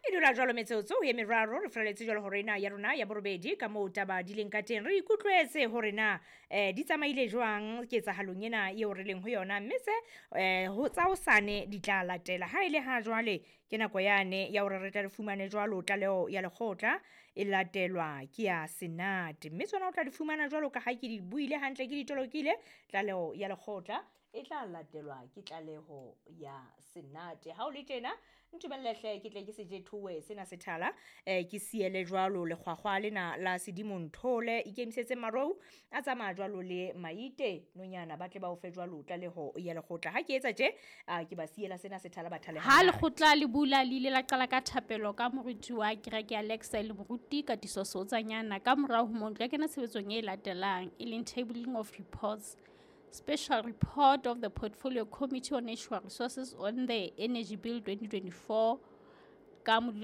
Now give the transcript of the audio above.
E dula jwalo metsotso e meraro re furaletse jwalo hore ena ya rona ya borobedi ka moo taba di leng ka teng. Re ikutlwetse hore na di tsamaile jwang ketsahalong ena eo re leng ho yona, mme tse ho tsa hosane di tla latela. Ha ele ha jwale ke nako yane ya hore re tle re fumane jwalo tlaleho ya lekgotla e latelwa ke ya senate, mme tsona o tla di fumana jwalo ka ha ke di buile hantle, ke di tolokile. Tlaleho ya lekgotla e tla latelwa ke tlaleho ya senate. Ha o le tjena, ntumelle hle ke tle ke se jethowe sena sethala, ke siele jwalo lekgwakgwa lena la Sedimonthole. Ikemisetse marou a tsamaya jwalo le maite nonyana, ba tle ba o fe jwalo tlaleho ya lekgotla. Ha ke etsa tje, ke ba siela sena sethala ba thale. Ha lekgotla le bula, le ile la qala ka thapelo ka moruti wa kereke ya Lexa le moruti Katiso Seotsanyana. Ka morao ho moo, ntlo ya kena tshebetsong e latelang, e leng tabling of reports. Special report of the Portfolio Committee on Natural Resources on the Energy Bill 2024 ka modula